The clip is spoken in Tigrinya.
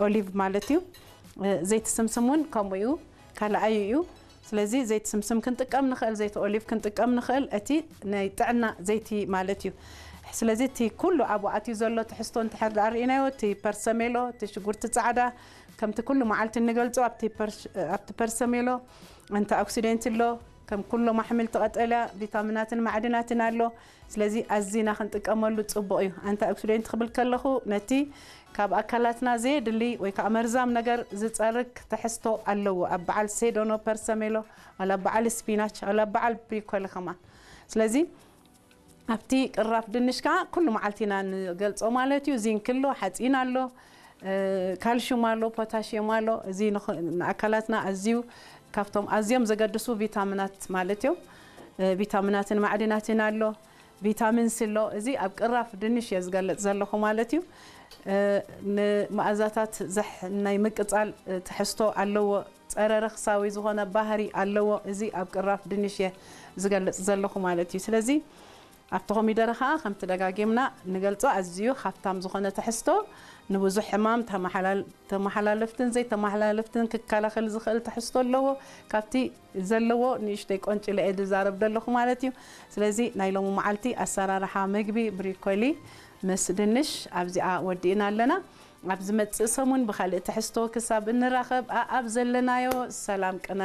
ኦሊቭ ማለት እዩ። ዘይቲ ስምስም እውን ከምኡ እዩ፣ ካልኣዩ እዩ። ስለዚ ዘይቲ ስምስም ክንጥቀም ንኽእል፣ ዘይቲ ኦሊቭ ክንጥቀም ንኽእል፣ እቲ ናይ ጥዕና ዘይቲ ማለት እዩ። ስለዚ እቲ ኩሉ ኣብኡ ኣትዩ ዘሎ ትሕዝቶ እንድሕር ደኣ ርኢናዮ፣ እቲ ፐርሰሜሎ፣ እቲ ሽጉርቲ ጻዕዳ፣ ከምቲ ኩሉ መዓልቲ እንገልጾ ኣብቲ ፐርስ-፣ ኣብቲ ፐርሰሜሎ ኣንቲኦክሲደንት ኣሎ፣ ከም ኩሎም ኣሕምልቲ ቀጠልያ ቪታሚናትን ማዕድናትን ኣሎ። ስለዚ ኣዚና ክንጥቀመሉ ጽቡቕ እዩ። ኣንቲኦክሲደንት ክብል ከለኹ ነቲ ካብ ኣካላትና ዘየድሊ ወይ ከዓ መርዛም ነገር ዝጸርግ ትሕዝቶ ኣለዎ። ኣብ በዓል ሴዶኖ ፐርሰሜሎ፣ ዋላ ኣብ በዓል ስፒናች፣ ዋላ ኣብ በዓል ብሪኮሊ ከማን። ስለዚ ኣብቲ ቅራፍ ድንሽ ከዓ ኩሉ መዓልቲ ኢና ንገልጾ ማለት እዩ። ዚንክ ኣሎ፣ ሓፂን ኣሎ፣ እ፣ ካልሽዩም ኣሎ፣ ፖታሽየም ኣሎ። እዚ ንኽ-፣ ንኣካላትና ኣዝዩ ካብቶም ኣዝዮም ዘገድሱ ቪታሚናት ማለት እዮም። እ፣ ቪታሚናትን ማዕድናትን ኣሎ፣ ቪታሚን ሲ ኣሎ። እዚ ኣብ ቅራፍ ድንሽ እየ ዝገልጽ ዘለኹ ማለት እዩ። እ፣ ንመኣዛታት ዘሕ-፣ ናይ ምቅጻል፣ እ፣ ትሕዝቶ ኣለዎ። ጸረ ረኽሳዊ ዝኾነ ባህሪ ኣለዎ። እዚ ኣብ ቅራፍ ድንሽ እየ ዝገልጽ ዘለኹ ማለት እዩ። ስለዚ ኣብቲ ኮሚደረ ኸዓ ከምቲ ደጋጊምና ንገልጾ ኣዝዩ ሃፍታም ዝኾነ ትሕዝቶ፣ ንብዙሕ ሕማም ተመሓላል-፣ ተመሓላለፍትን ዘይተመሓላለፍትን ክከላኸል ዝኽእል ትሕዝቶ ኣለዎ። ካብቲ ዘለዎ ንእሽተይ ቆንጭለ እየ ዝዛረብ ዘለኹ ማለት እዩ። ስለዚ ናይ ሎሚ መዓልቲ ኣሰራርሓ ምግቢ ብሪኮሊ ምስ ድንሽ ኣብዚኣ ወዲእና ኣለና። ኣብ ዝመጽእ ሰሙን ብኻልእ ትሕዝቶ ክሳብ እንራኸብ ኣኣብ ዘለናዮ ሰላም ቅነ